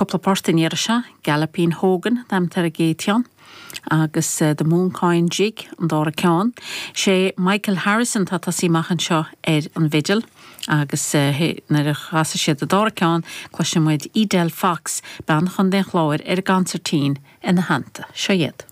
Cúpla port an iarraidh seo, Galloping Hogan an t-ainm atá ar an gcéad cheann agus The Mooncoin Jig an dara ceann. Sé Michael Harrison atá ag tosaí amach anseo ar an bhfidil agus nuair a chasfaidh siad an dara ceann cloisfidh muid Edel Fox, bean Chontae an Chláir ar an gconsairtín ina theannta. Seo iad.